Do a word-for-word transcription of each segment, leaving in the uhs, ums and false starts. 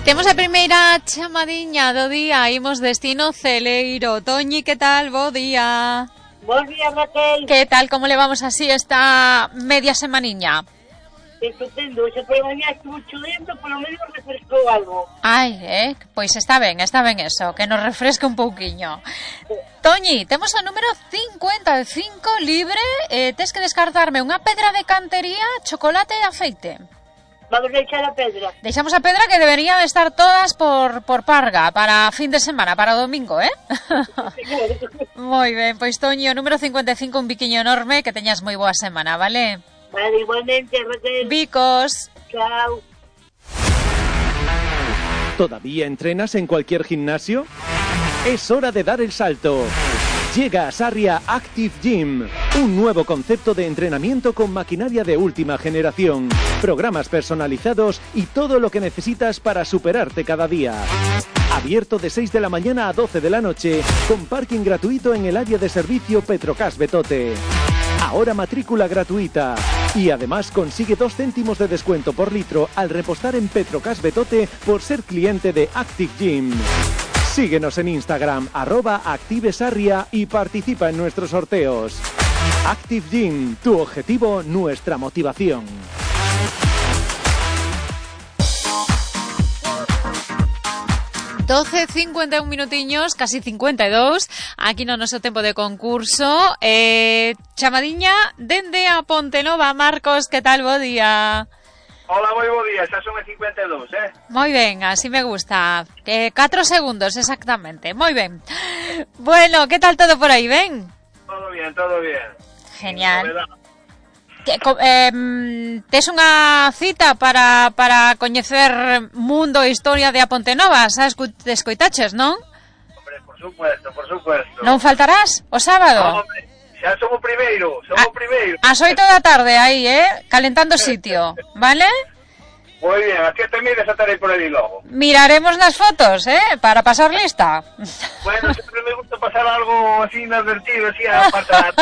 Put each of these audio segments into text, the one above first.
Temos a primeira chamadiña do día, imos destino Celeiro. Toñi, que tal? Bo día. Bos días, Raquel. Que tal, como levamos así esta media semaniña? Estupendo, se por mañá estuvo chudendo, polo menos refrescou algo. Ai, eh, pois está ben, está ben eso, que nos refresque un pouquiño. Toñi, temos o número cincuenta e cinco libre, eh, tes que descartarme unha pedra de cantería, chocolate e aceite. Vamos a echar a pedra. Deixamos a pedra, que deberían estar todas por, por Parga, para fin de semana, para o domingo, eh? Moi ben, pois Toñi, o número cincuenta e cinco, un biquiño enorme, que teñas moi boa semana, vale? Vale, igualmente, Raquel. Bicos. Chao. ¿Todavía entrenas en cualquier gimnasio? Es hora de dar el salto. Llega a Sarria Active Gym, un nuevo concepto de entrenamiento con maquinaria de última generación, programas personalizados y todo lo que necesitas para superarte cada día. Abierto de seis de la mañana a doce de la noche, con parking gratuito en el área de servicio Petrocas Betote. Ahora matrícula gratuita. Y además consigue dos céntimos de descuento por litro al repostar en Petrocas Betote por ser cliente de Active Gym. Síguenos en Instagram, arroba ActiveSarria, y participa en nuestros sorteos. Active Gym, tu objetivo, nuestra motivación. doce cincuenta e un minutiños, casi cincuenta e dous, aquí no noso tempo de concurso. Eh, chamadiña dende a Pontenova. Marcos, que tal? Bo día. Hola, moi bo día, xa son as cincuenta e dous, eh? Moi ben, así me gusta. Eh, catro segundos, exactamente. Moi ben. Bueno, que tal todo por aí, ben? Todo bien, todo bien. Genial. Que, eh, tes unha cita para, para coñecer mundo e historia de a Pontenova, xa escoitaches, non? Hombre, por supuesto, por supuesto. Non faltarás o sábado? No, hombre, xa son o primeiro, son o primeiro. As oito da tarde aí, eh, calentando sitio, vale? Moi bien, a que te mires a estarei por aí logo. Miraremos nas fotos, eh, para pasar lista. Bueno, sempre me gusta pasar algo así inadvertido, así a pasar.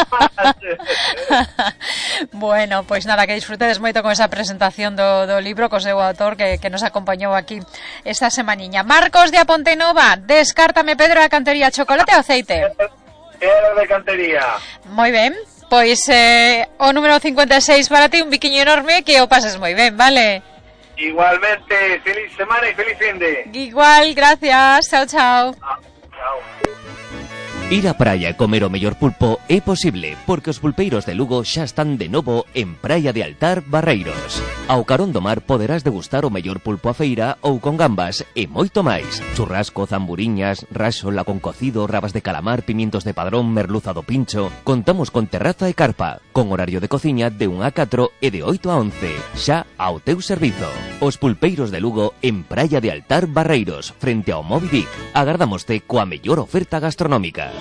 Bueno, pois nada, que disfrutedes moito con esa presentación do, do libro co seu autor que, que nos acompañou aquí esta semaniña. Marcos de a Pontenova, descártame pedra de cantería, chocolate ou aceite? Pedra de cantería. Moi ben, pois eh, o número cincuenta e seis para ti, un biquiño enorme, que o pases moi ben, vale? Igualmente, feliz semana y feliz fin de. Igual, gracias, chao, chao. Ah, chao. Ir á praia e comer o mellor pulpo é posible, porque os pulpeiros de Lugo xa están de novo en Praia de Altar, Barreiros. Ao carón do mar poderás degustar o mellor pulpo a feira ou con gambas e moito máis. Churrasco, zamburiñas, raxola con cocido, rabas de calamar, pimientos de padrón, merluza do pincho. Contamos con terraza e carpa, con horario de cociña de un a catro e de oito a once, xa ao teu servizo. Os pulpeiros de Lugo en Praia de Altar, Barreiros, frente ao Moby Dick. Agardámoste coa mellor oferta gastronómica.